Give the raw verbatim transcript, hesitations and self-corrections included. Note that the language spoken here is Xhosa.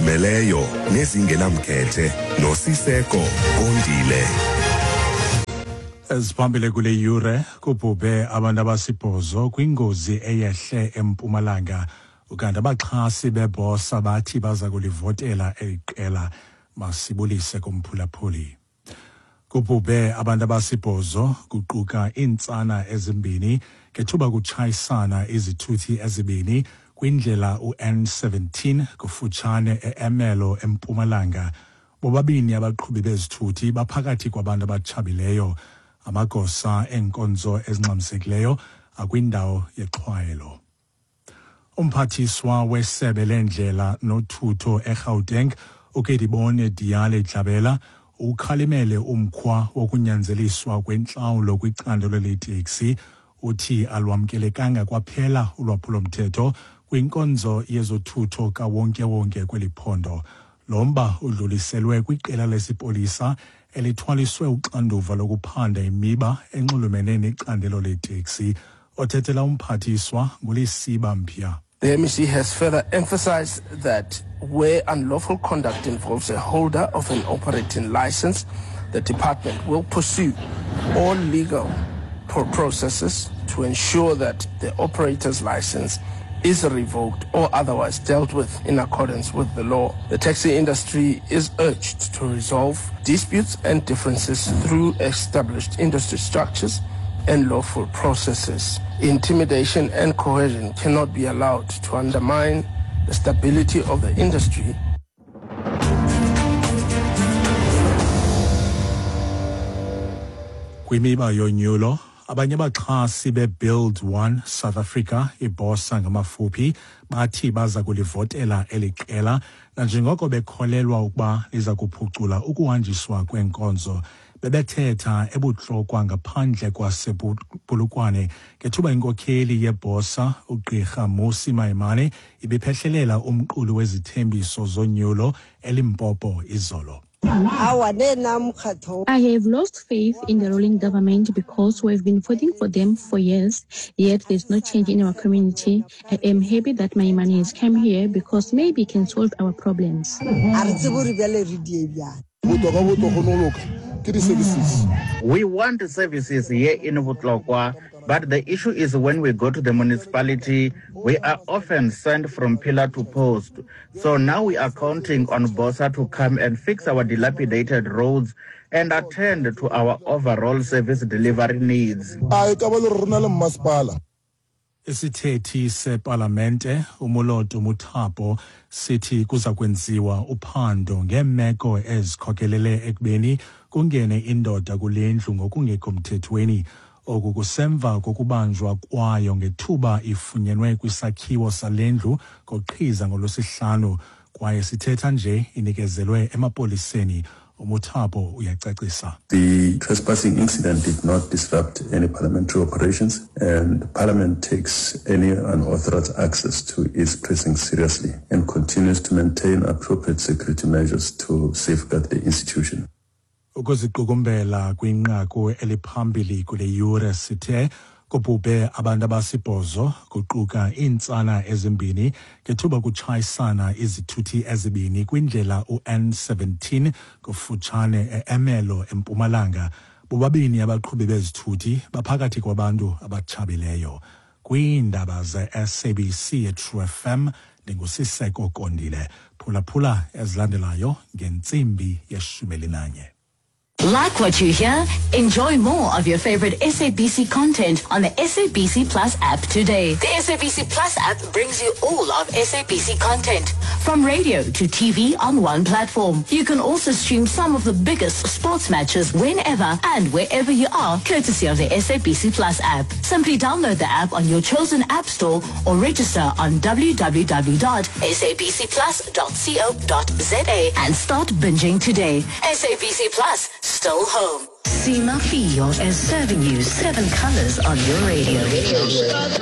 Ezizimeleyo nezingenamkhethe noSiseko Kondile. Eziphambili kule yure, kubhubhe abantu abasibhozo kwingozi eyehle eMpumalanga. Ukanti abaxhasi beBOSA bathi baza kulivotela eli qela. Masibulise kumphulaphuli. Kubhubhe abantu abasibhozo kuquka iintsana ezimbini ngethuba kutshayisana izithuthi ezibini kwindlela u N seventeen kufutshane e-Ermelo eMpumalanga. Bobabini abaqhubi bezithuthi baphakathi kwabantu abatshabileyo. Amagosa eenkonzo ezingxamisekileyo akwindawo yexhwayelo. Umphathiswa wesebe lendlela nothutho eGauteng, uKedibone Diale Dlabela, ukhalimele umkhwa wokunyanzeliswa kwentlawulo kwicandelo leeteksi. Uthi alwamkelekanga kwaphela ulwaphulomthetho kwinkonzo yezothutho kawonkewonke kweli phondo. Lo mba udluliselwe kwiqela lesipolisa elithwaliswe uxanduva lokuphanda imiba enxulumene necandelo leeteksi. Othethela umphathiswa nguLesiba Mpya. The M E C has further emphasized that where unlawful conduct involves a holder of an operating license, the department will pursue all legal pro- processes to ensure that the operator's license is revoked or otherwise dealt with in accordance with the law. The taxi industry is urged to resolve disputes and differences through established industry structures and lawful processes. Intimidation and coercion cannot be allowed to undermine the stability of the industry. Kwimiba yonyulo, abanye abaxhasi beBuild One South Africa, iBOSA ngamafuphi, bathi baza kulivotela eli qela nanjengoko bekholelwa ukuba liza kuphucula ukuhanjiswa kweenkonzo. Bebethetha eBuhlokwa ngaphandle kwasePolokwane ngethuba inkokheli yeBOSA uGqirha Mmusi Maimane ibiphehlelela umqulu wezithembiso zonyulo eLimpopo izolo. I have lost faith in the ruling government because we've been voting for them for years, yet there's no change in our community. I am happy that Maimane has come here because maybe he can solve our problems. We want services here in Botlokwa, but the issue is when we go to the municipality, we are often sent from pillar to post. So now we are counting on BOSA to come and fix our dilapidated roads and attend to our overall service delivery needs. Isithethi sepalamente uMoloto Muthapo sithi kuza kwenziwa uphando ngeemeko ezikhokelele ekubeni kungene indoda kule ndlu ngokungekho mthethweni. Oku kusemva kokubanjwa kwayo ngethuba ifunyenwe kwisakhiwo sale ndlu koqhiza ngolwesihlanu, kwaye sithetha nje inikezelwe emapoliseni. UMuthapo uyacacisa. The trespassing incident did not disrupt any parliamentary operations, and Parliament takes any unauthorized access to its precincts seriously and continues to maintain appropriate security measures to safeguard the institution. Ukuziqukumbela kwinqaku eliphambili kule yure, sithe kubhubhe abantu abasibhozo kuquka iintsana ezimbini ngethuba kutshayisana izithuthi ezibini kwindlela u N seventeen kufutshane e-Ermelo eMpumalanga. Bobabini abaqhubi bezithuthi baphakathi kwabantu abatshabileyo. Kwiindaba ze-S A B C eTrue F M, ndinguSiseko Kondile. Phulaphula ezilandelayo ngentsimbi yeshumi elinanye. Like what you hear? Enjoy more of your favorite S A B C content on the S A B C Plus app today. The S A B C Plus app brings you all of S A B C content, from radio to T V on one platform. You can also stream some of the biggest sports matches whenever and wherever you are, courtesy of the S A B C Plus app. Simply download the app on your chosen app store or register on w w w dot s a b c plus dot co dot z a and start binging today. S A B C Plus. Still home. Sima Fio is serving you seven colors on your radio.